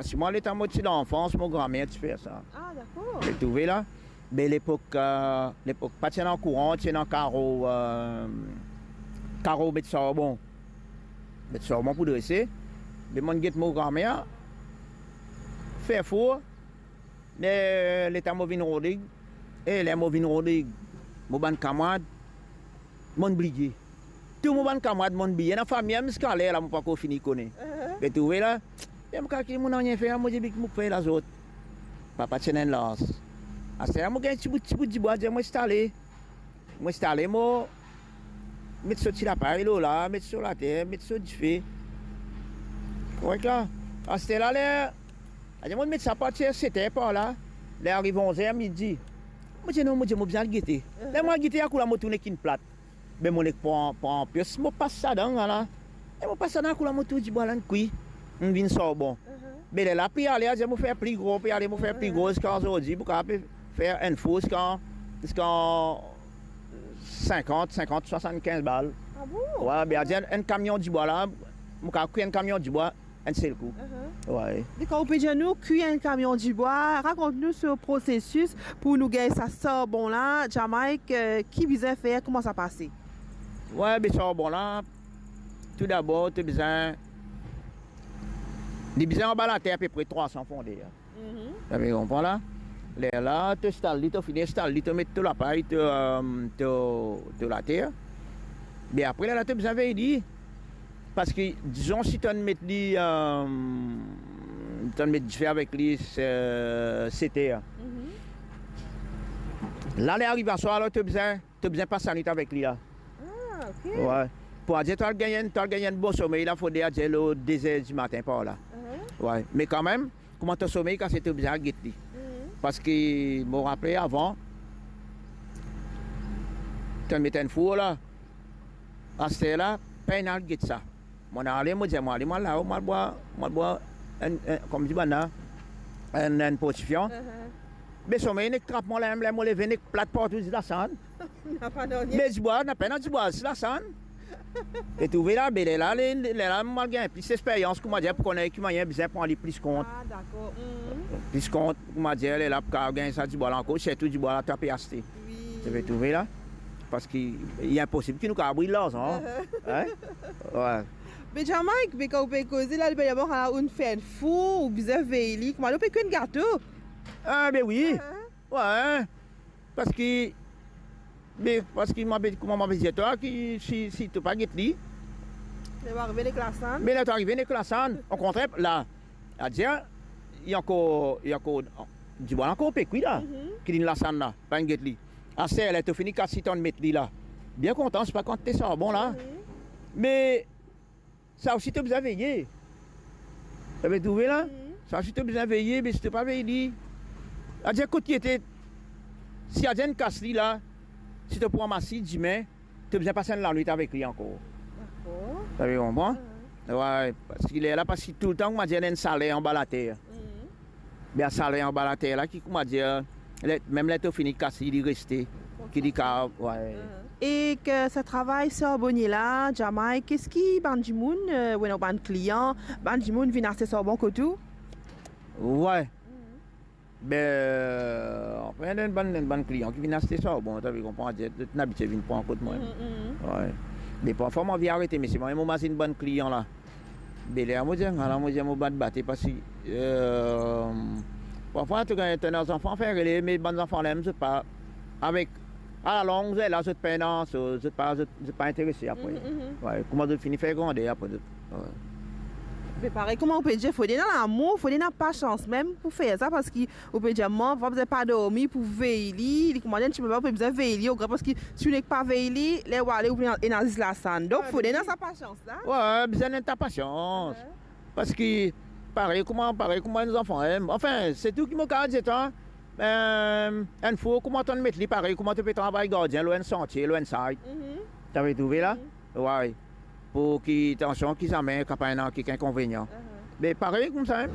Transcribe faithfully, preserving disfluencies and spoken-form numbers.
Parski mwa, letan mo ti lanfans, mo granmer ti fer sa. Ah, dakor. Ou trouve la? Be lepok, eh, lepok pa ti ena kouran, ti ena karo, eh, karo met sarbon. Met sarbon pou drese. Be monn get mo granmer fer four. Me letan mo vinn Rodig, e ler mo vinn Rodig, mo bann kamarad, monn bliye. Tou mo bann kamarad monn bliye. Ena fami mem ziska ler la mo pankor fini kone. Ou trouve la? E mo kalkil mo nanye fer, mo dir, "Be ki mo fer la zot?" Papa ti ena enn lans. Aster la mo gagn ti bout, ti bout dibwa, dir mo instale. Mo instale, mo met so ti lapay lor la, met so later, met so dife. Korek la? Aster la, ler, adir monn met sa apartir set er par la, ler ariv onz er midi. Mo dir, "Non," mo dir, "mo bizin al gete." Ler mo al gete, akour la mo trouv nek inn plat. Be mo nek pran, pran pies, mo pas ladan la. E mo pas ladan, akour la mo trouv dibwa la inn kwi, inn vinn sarbon. Be lerla pe ale, adir mo fer pli gro, pe ale, mo fer pli gro ziska zordi, pou kapav fer enn four ziska, ziska sinkant, sinkant, swasannkinz bal. Ah bon? Wi, be adir enn, enn kamion dibwa la, mo kapav kwi enn kamion dibwa enn sel kou. Wi. Dakor, ou pe dir nou kwi enn kamion dibwa, rakont nou so prosesis pou nou gagn sa sarbon la, Jamaik, eh, ki bizin fer, kouma sa pase? Wi, be sarbon la, toudabor, to bizin, li bizin anba later apepre trwa san fondeur. Ou pe konpran la? Lerla, to instal li, to fini instal li, to met to lapay, to, eh, to, to later. Be apre, lerla to bizin vey li. Parski, dizon, si to'nn met li, eh, to'nn met dife avek li, eh, set er. La, ler ariv aswar, alor to bizin to bizin pas lanwit avek li la. Ah, ok. Wi. Pou adir to al gagn enn, to al gagn enn bon somey la, fode adir lor de zer dimatin par la. Wi. Me kanmem, kouma to somey kase, to bizin al get li. Parski mo rapele avan, to'nn met enn four la. Aster la, pena al get sa. Monn ale, mo dir, mo ale, mo al lao, mo al bwar, mo al bwar enn, enn, kouma dir bann la, enn, enn porsifian. Be somey nek trap mwa la, ler mo leve, nek plat partou, zis lasann. Napa nanye. Be dibwa, napa ena dibwa, zis lasann. Ou trouve la, be lerla, le, lerla mo al gagn plis lesperyans, kouma dir, pou kone ki manier bizin pran li plis kont. Ah, dakor. Plis kont, kouma dir, lerla pou kapav gagn sa dibwa la ankor, sirtou dibwa la to pe aste. Wi. Ou trouve la? Parski li inposib ki nou kapav bril larzan. Hein? Wi. Be Jamaik, be kan ou pe koze la, li pe dir mwa, kan ou fer enn four, ou bizin vey li. Kouma ou pe kwi enn gato? Ah, be wi. Wi. Parski, be, parski mo pe, kouma mo pe dir twa, ki si, si to pa get li, ler ou arive nek lasann. Me ler to arive nek lasann, okontrer, la, adir, li ankor, li ankor, dibwa la ankor pe kwi la, ki linn lasann la, pa inn get li. Aster, ler to fini kas li, to'nn met li la. Bien kontan, se pa kantite sarbon la. Wi. Me sa osi to bizin veye. Ou trouve la? Sa osi to bizin veye, me si to pa vey li, adir kot li ete, si adir inn kas li la, si to pou ramas li dime, to bizin pas enn lanwit avek li ankor. Dakor. Ou konpran? Wi, parski lerla, parski toultan, kouma dir, ena enn saler anba later. Be sa saler anba later la ki, kouma dir, ler, mem ler to fini kas li, li reste, ki li kapav, wi. E ki sa travay sarbonie la, Jamaik, eski bann dimoun, eh, ou ena bann klian, bann dimoun vinn aste sarbon kot ou? Wi. Be, anfin, ena bann, bann klian ki vinn aste sarbon, to pe konpran, zot inn abitie vinn pran kot mwa. Wi. Me parfwa mo anvi arete, me si mwa mo mazinn bann klian la. Be ler mo dir, ala mo dir mo bat bate, parski, eh, parfwa to gagn, to ena zanfan fer rele, me bann zanfan la mem, zot pa, avek, alalong, zot la, zot pena, so, zot pa, zot, zot pa interese apre. Wi, kouma zot fini fer grander apre zot. Wi. Me parey kouma ou pe dir, fode ena lamour, fode ena pasians mem pou fer sa, parski ou pe dir, mwa, pa bizin pa dormi pou vey li, li kouma dir enn tipe, ou pe bizin vey li, oke, parski si ou nek pa vey li, ler ou ale, ou ena, ena zis lasann. Donk, fode ena sa pasians la. Wi, bizin ena ta pasians. Parski parey kouma, parey kouma enn zanfan, eh, anfin, se tou ki mo kapav dir twa, eh, enn four, kouma to'nn met li, parey kouma to pe travay gardien lor enn santie, lor enn site. To pe trouve la? Wi. Pou ki, atansion, ki zame kapav ena kek inkonvenian. Me parey koumsa, eh.